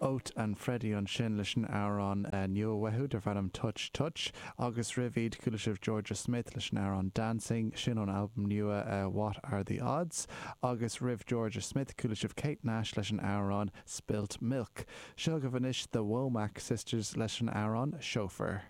Oat and Freddie ansin leis an amhrán nua uathu darb ainm Touch Touch agus roimh iad chuala sibh Jorja Smith leis an amhrán Dancing, sin ón albam nua What Are The Odds agus roimh Jorja Smith chuala sibh Kate Nash leis an amhrán Spilt Milk. Seo agaibh anois The Womack Sisters leis an amhrán Chauffeur.